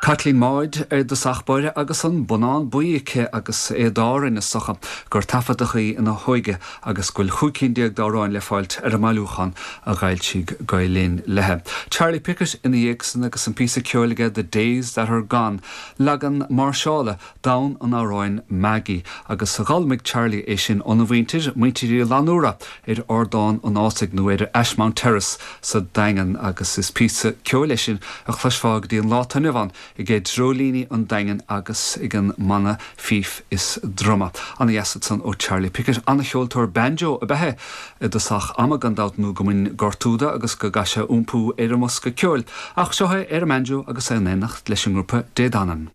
Caitlín Maude ar dtosach báire agus an bonnán buí aici agus é d'Árainn is dócha gur taifeadadh í ina hóige agus go bhfuil 15 cinn d'amhráin le fáilt ar an mbailiúchán a dh'fhoilsigh Gael Linn léi. Charlie Pickett ina dhiaidh san agus an píosa ceoil aige The Days That Are Gone, leagan máirseála d'fhonn an amhráin Maggie agus d'fhoghlaimigh Charlie é sin óna mhuintir, muintir Uí Fhlannúra ar Ardán an Fhásaigh nó ar Ashmount Terrace sa Daingean agus is píosa ceoil é sin a chloisfeá go dtí an lá atá inniu ann aige Dreoilíní an Daingin agus ag an mbanna fíf is druma. Ana dheas ansan ó Charlie Pickett. Ana cheoltóir banjo ab ea é i dtosach ama gan dabht nó go mbain gortú de agus go gcaith sé iompú ar an mbosca ceoil. Ach seo é ar an mbanjo agus é in éineacht leis an ngrúpa Dé Danann.